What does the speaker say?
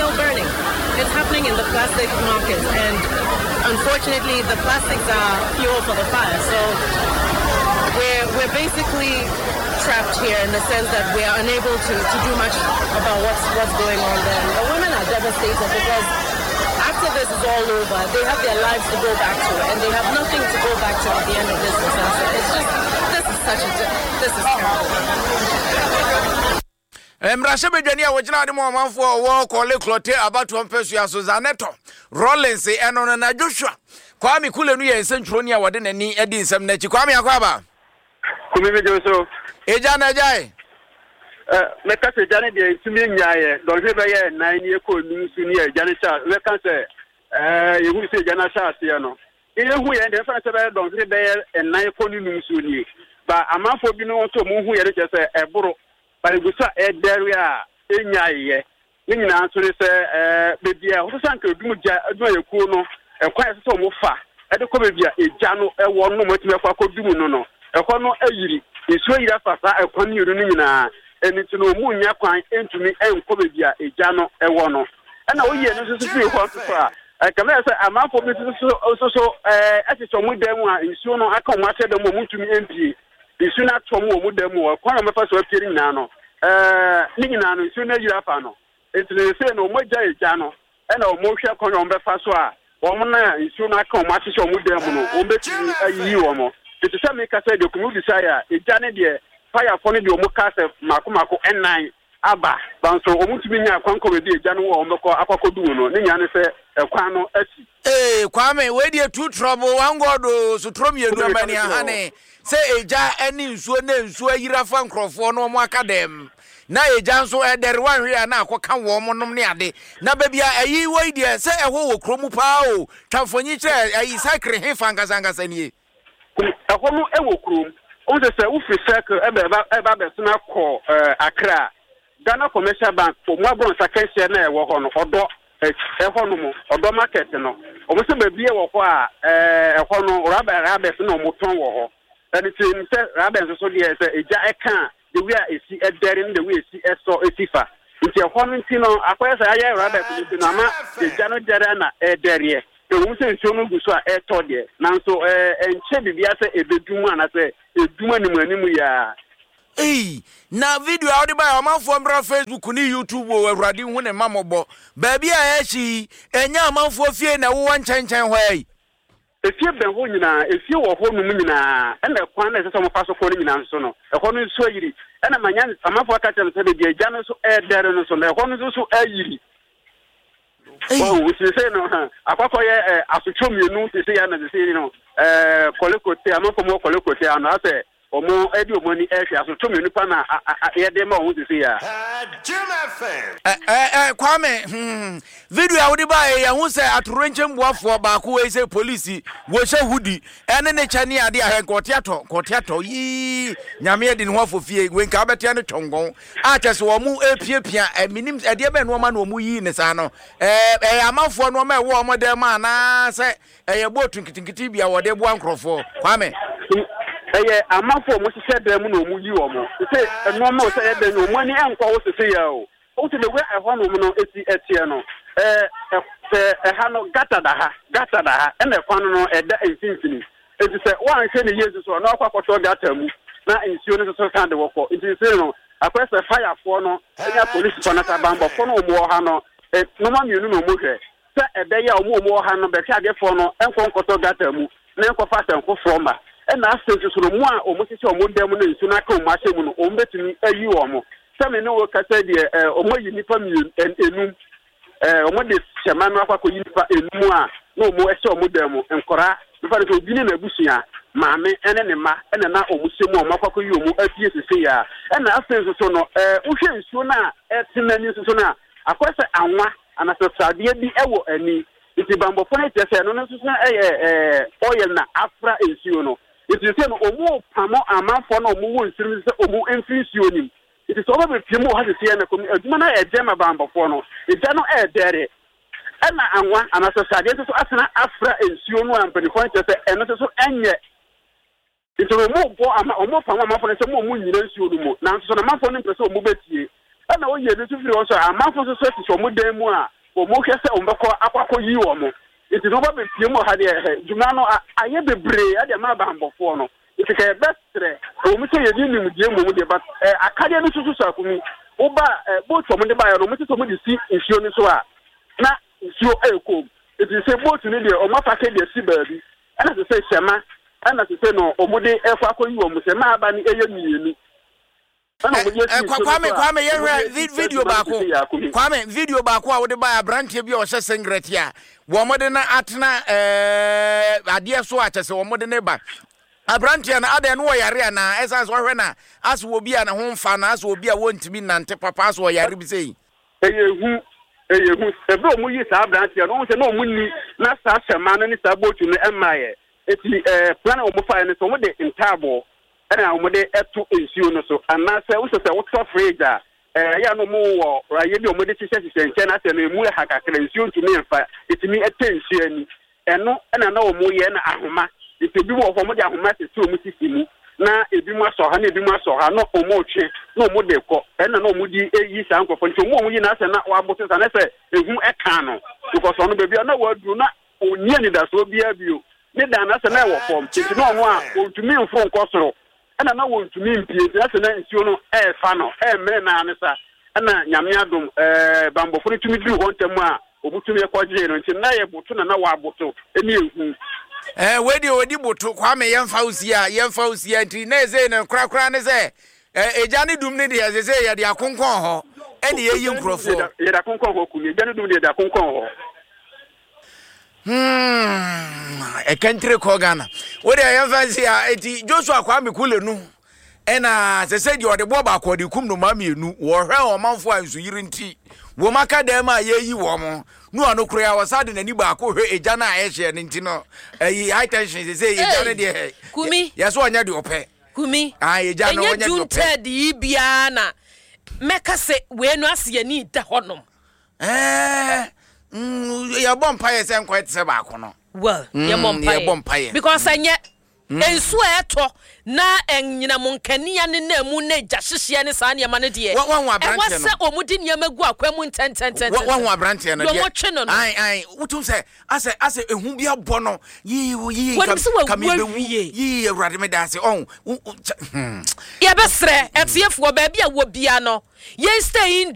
still burning. It's happening in the plastic market, and unfortunately, the plastics are fuel for the fire. So we're, we're basically trapped here in the sense that we are unable to, to do much about what's, what's going on there. The women are devastated because after this is all over, they have their lives to go back to, and they have nothing to go back to at the end of this disaster. It's just, this is such a, this is terrible. Mmarahyɛbadwani a wɔgyina ade ma ɔmanfoɔ a wɔwɔ Korle Klottey abatoɔ mpasua so, Zanetor Rawlings, ɛno no na Joshua Kwame Kule no yɛ nsɛntwerɛni a wɔde n'ani adi nsɛm no akyi. Kwame Akwaaba. Kumi mi dwo so. Egya na agyae. Mɛka sɛ egya no deɛ ntumi nnyaeɛ. Dɔnhwere bɛyɛ nnan ne ɛkɔ enum so ne egya no hyɛ mɛka sɛ yɛhunu sɛ egya no ahyɛ aseɛ no. Yɛhu yɛn deɛ mɛfa no sɛ bɛyɛ dɔnhwere bɛyɛ nnan kɔ ne num so nie. Ba amanfoɔ binom nso wɔn hu yɛ no kyerɛ sɛ ɛboro. Ba egu so a ɛdɛre a ɛnnyaeɛ. Ne nyinaa nso ne sɛ, baabi a ɛsɛ sɛ anka odum gya adwumayɛkuo no, ɛkwan a ɛsɛ sɛ wɔfa de kɔ baabi a egya no wɔ no na wɔatumi akɔ akɔdum no no, ɛhɔ no ayiri. Nsuo ayiri afa saa ɛkwan mmienu no nyinaa. Ɛno nti no, wɔnnya kwan ntumi nkɔ baabi a egya no wɔ no. Ɛna woyi ɛno nso so firi hɔ nso so a, ɛkame ayɛ sɛ amanfoɔ bi nso so nso so ɛhyehyɛ wɔn dan mu a nsuo no aka wɔn ahyɛ dan mu a wɔntumi mpue. Nsu no atɔ mu wɔ wɔn dan mu hɔ. Kwan a wɔbɛfa so apue no nyinaa no, ɛɛ, ne nyinaa no, nsu no ayiri afa no. Enti no, seesei no, wɔagya egya no, ɛnna wɔrehwɛ kwan a wɔbɛfa so a wɔn a nsuo no aka wɔn ahyehyɛ wɔn dan mu no, wɔbɛtumi ayiyi wɔn. Enti sɛ mekasa yi deɛ, Kumi wobisaeɛ a, egya no deɛ, fayafoɔ no deɛ wɔn kaa sɛ mmaako mmaako nnan aba, nanso wɔntumi nyaa kwan kɔ baabi a egya no wɔ a wɔbɛkɔ akɔ akɔdum no. Ne nyinaa ne sɛ, ɛkwan no asi. Ee Kwame wei deɛ two trouble one God oo sotorɔ mmienu amani ahane sɛ egya ne nsuo na nsuo ayiri afa nkorɔfoɔ na wɔn aka dɛm na egya nso ɛdɛre wanhwɛ a na akɔka wɔn nom ne ade na baabi a ɛyi wɔ yi deɛ sɛ ɛhɔ wɔ kuro mu paa o twa mfonyin kyerɛ ɛyi cycle he fa ankasa ankasa nie. Ɛhɔ no wɔ kurom. Wohu sɛ sɛ wofiri circle ɛbɛ ɛba abɛsena kɔ Accra a, Ghana Commercial Bank wɔn abrɔnsa kɛseɛ no a ɛwɔ hɔ no, ɔdɔ ɛhɔ nom, ɔdɔ market no, wɔn sɛ baabi wɔ hɔ a ɛhɔ no rubber rubbers na wɔn tɔn wɔ hɔ. Ɛno nti yɛnim sɛ rubber nso so deɛ sɛ egya ɛka a, the way a esi ɛdɛre ne the way esi ɛsɔ esi fa. Nti ɛhɔ no nti no akɔyɛ sɛ ayɛ rubbers no nti no ama egya no dɛre na ɛdɛreɛ. Ɛwom sɛ nsuo no gu so a ɛretɔ deɛ, nanso ɛnkyɛ biribiara sɛ ɛbɛdum anaasɛ ɛdum animuanimu yi ara. Ei na video a wode baeɛ ɔmanfoɔ mbra Facebook ne YouTube o awurade nhu ne mma mmɔbɔ baabi a ɛhye yi ɛnyɛ amanfoɔ fie na ɛwowɔ nkyɛnkyɛn hɔ yi. Efie bɛn hɔ nyinaa, efie wɔ hɔ nom nyinaa, ɛna ɛkwan no a ɛsɛ sɛ wɔfa so kɔ no nyinaa nso no, ɛhɔ no nso ayiri. Ɛna manya amanfoɔ aka kyerɛ me sɛ baabi a egya no nso ɛredɛre no nso no, ɛhɔ no nso so ayiri. Wahu, seesei no, akɔakɔyɛ asotwe mmienu seesei a na seesei no, kɔlekote, amanfoɔ mu wɔ kɔlekote ano, asɛ Wɔn de wɔn ani rehwɛ aso tumi nipa na yɛde ma wɔn sisi ya. Ɛ ɛ Kwame hmm video a wode baeɛ yɛho sɛ atorenkyɛm boafoɔ baako wei sɛ polisi wɔhyɛ hudi ɛne ne kyɛ ne adeɛ ahwɛ nka ɔte atɔ nka ɔte atɔ yii nyame adi ne ho afɔ fie wei nka wobɛtea ne twɔngɔn a kyɛ sɛ wɔn epiapia ɛmenim ɛdeɛ bɛn nneɛma na wɔn yii ne saa no ɛɛ ɛyɛ amanfoɔ nneɛma ɛwɔ wɔn dan mu anaasɛ Ɛyɛ boat nketenkete bi a wɔde boa nkurɔfoɔ. Kwame. Ɛyɛ amanfoɔ a wɔhyehyɛ dan mu na wɔyi wɔn. Sese nnoɔma o sɛ ɛyɛ dɛn o, wɔn ani nkɔ ho sese yɛ o. Wohu sɛ the way ɛhɔ nom no si teɛ no, ɛɛ sɛ ɛha no gutter da ha, gutter da ha, ɛna ɛkwan no no ɛda mfimfini. Nti sɛ woanhwɛ no yie nso so a, na wakɔ akɔtɔ gutter mu na nsuo no nso so san de wo kɔ. Nti sesei no, akɔyɛ sɛ firefoɔ no ne apolisifoɔ no anaa abanbɔfoɔ no a wɔwɔ ha no, nnoɔma mmienu na wɔhwɛ. Sɛ ɛbɛyɛ a wɔn a wɔwɔ ha no bɛhwɛ adefoɔ no nkɔ nkɔtɔ gutter mu na nkɔfa asɛm foforɔ mma. Ɛna afei nso so no, mo a wɔhyehyɛ wɔn dan mu na nsuo no aka wɔn ahyɛ mu no, wɔbɛtumi ayi wɔn. Sɛ me ne wo rekasa yi deɛ, eh, wɔayi nnipa mmienu, enum. Eh, wɔde hyɛma no akɔ akɔyi nnipa enum a na wɔhyɛ wɔn dan mu. Nkwadaa, mefa no sɛ obi ne n'abusua, maame ne ne mma na na wɔhyɛ mu a wɔakɔ akɔyi wɔn afie seesei ara. Ɛna afei nso so no, eh, wohwɛ nsuo no a ɛte n'ani nso so no a, akɔyɛ sɛ anwa Anasɛ sradeɛ bi wɔ ani. Nti banbɔfoɔ no kyerɛ sɛ ɛno no nso so yɛ oil na afra nsuo no. Nti sɛ no ɔmu pamo amanfoɔ na ɔmu wɔ nsuo no mu sɛ ɔmu mfiri nsuo no mu. Nti sɛ ɔba bɛpie mu wɔ ha seseɛ no kɔmi adwuma no ayɛ dɛn ma banbɔfoɔ no. Egya no ɛɛdɛre. Ɛna anwa anasɛ sradeɛ nso so asena afra nsuo no a mpaninfoɔ no kyerɛ sɛ ɛno nso so ɛnyɛ. Nti no wɔbɔ ama wɔpam amanfoɔ no sɛ mo wɔn nnyina nsuo no mu, nanso so na amanfoɔ no mpɛ sɛ wɔn bɛtie. Ɛna woyi ebi nso firi hɔ nso a, amanfo nso so sisi wɔn dan mu a wɔhwɛ sɛ wɔbɛkɔ akɔ akɔyi wɔn. Nti sɛ woba bɛpie mu wɔ ha deɛ, ɛhɛ, dwuma no ayɛ bebree de ama abanbɔfoɔ no. Nti ka yɛbɛsrɛ, ɛwɔ mu sɛ yɛnni nimdeɛ mmom deɛ, but eh, akadeɛ no nso so so akumi. Woba eh, boat a wɔde baeɛ no, wɔte sɛ wɔde si nsuo no so a, na nsuo ɛrekɔ mu. Nti sɛ boat no deɛ, wɔn apake de asi baabi. Ɛna sɛ sɛ hyɛma, ɛna sɛ sɛ no wɔde ɛkɔ akɔyi wɔn. Hyɛma aba no ɛyɛ mmienu. Kwame Kwame yɛhwɛ video baako Kwame video baako a wode bae aberanteɛ bi a ɔhyɛ singlet a wɔn de no atena ɛɛ adeɛ so a kyɛ sɛ wɔn de ne ba aberanteɛ no adɛn no ɔyare anaa ɛsan sɛ ɔhwɛ na asɛ obi a ne ho mfa na asɛ obi a wɔntumi nante papa asɛ ɔyare bi sɛ yi. Ɛyɛ hu ɛyɛ hu ɛberɛ a wɔn yi saa aberanteɛ no wɔn sɛ na wɔn ni na saa hyɛma no ne saa bootu no ɛmmaeɛ eti ɛɛ plan a wɔn faeɛ no sɛ wɔn de ntaaboo ɛna wɔde to nsuo no so anaasɛ wosɛ sɛ wotɔ fridge a ɛyɛ a na wɔn wɔ ayɛ bi a wɔde hyehyɛ hyehyɛ nkyɛn na asɛ no emu ɛha kakra nsuo ntumi mfa etumi ɛtɛ nsuo ani ɛno ɛna na wɔn yɛ na ahoma nti ebi wɔ hɔ wɔde ahoma sisi wɔn sisi mu na ebi mu asɔ ha na ebi mu asɔ ha na wɔn retwe na wɔn de kɔ ɛna na wɔn de eyi saa nkorɔfoɔ nti wɔn a wɔn yi na asɛ na wɔaboto sa na sɛ ehu ɛka no because ɔno baabi a na wɔaduru na Ɔnni anidasoɔ biara bio. Ne dan no, asɛ na ɛwɔ fam, enti na ɔno a, ɔntumi mforo nkɔ soro, ɛna na wɔntumi mpue, enti na asɛ na nsuo no refa no, ɛremene no ara ne sa, ɛna Nyame adom, ɛɛ, banbɔfoɔ no tumi duruu hɔ ntɛm a wɔtumi kɔgyee no, nti na ɛyɛ boto na na wɔaboto ne ehu. Ɛɛ, wei deɛ ɔdi boto, Kwame yɛmfa wo sie a, yɛmfa wo sie a, nti na ɛsei no korakora ne sɛ, ɛɛ, egya ne dum no deɛ sesei yɛde akonkɔn hɔ ɛne yɛyi nkurɔfoɔ. Yɛde akonkɔn hɔ, Kumi, egya ne dum deɛ yɛde akɔnkɔn hɔ. Hmm, ɛkɛntire kɔ Ghana. Wo deɛ yɛmfa nsi a, eti Joshua Kwame Kule no ɛna sɛ sɛ deɛ ɔde boɔ baako ɔde kum nnomaa mmienu wɔhwɛ ɔmanfoɔ a nsuyiri nti wɔn aka dan mu a yɛyi wɔn no ano koraa wɔsa de n'ani baako hwɛ egya no a ɛhyeɛ no nti no ɛyi high tension sɛ sɛ egya no deɛ Kumi yɛ so ɔnyɛ deɛ ɔpɛ Kumi ah egya no ɛnyɛ ɔnyɛ deɛ June ɔpɛ third yi biara na mɛka sɛ wei no ase yɛni da hɔnom. Ɛɛ mm, yɛbɔ mpaeɛ sɛ nkɔyɛ te sɛ baako no. Well, mm, yɛbɔ mpaeɛ. Yɛbɔ mpaeɛ. Because mm. ɛnyɛ mm. nsuo a ɛtɔ na ɛnyinam nkanea ne na mu na gya hyehyeɛ ne saa nneɛma no deɛ. Wɔn aberanteɛ no. Ɛwɔ sɛ wɔn de nneɛma gu akwan mu ntɛntɛntɛntɛn. Wɔn aberanteɛ no deɛ. Wɔn twe no no. Ayi ayi wotum sɛ asɛ asɛ ehu bi abɔ no yii yii wɔn sɛ kame wɔawu bewu awie. yii awurade mi da ase ɔn. Yɛbɛsrɛ ɛtiefoɔ baabi a wɔ bia no yɛn stay in.